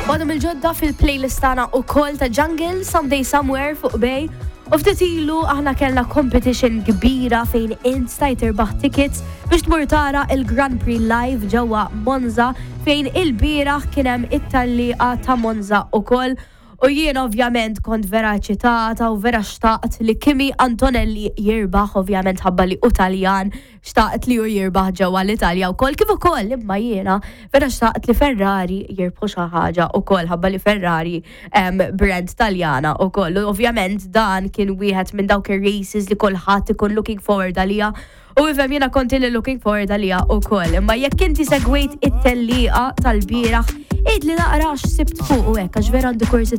Waħda mill-ġodda fil-playlist tagħna ukoll ta' Jungle, Someday Somewhere fuq Bay. U ftit ilu aħna kellna competition kbira fejn int stajt tirbaħ tickets biex tmur tara il-Grand Prix live ġewwa Monza fejn il-bieraħ kien hemm it-tellieqa ta' Monza ukoll. U jien ovvjament kont vera eċitata u vera xtaqt li Kimi Antonelli jirbaħ, ovvjament ħabba li hu Taljan, xtaqt li hu jirbaħ ġewwa l-Italja wkoll, kif ukoll imma jiena vera xtaqt li Ferrari jirbħu xi ħaġa wkoll ħabba li Ferrari brand Taljana wkoll. U ovvjament dan kien wieħed minn dawk ir-races li kulħadd ikun looking forward għaliha. U ifhem jiena kont ili looking forward għaliha wkoll. Imma jekk inti segwejt it-tellieqa tal-bieraħ, għidli naqra x'sibt fuq u hekk għax vera għandi kurżità.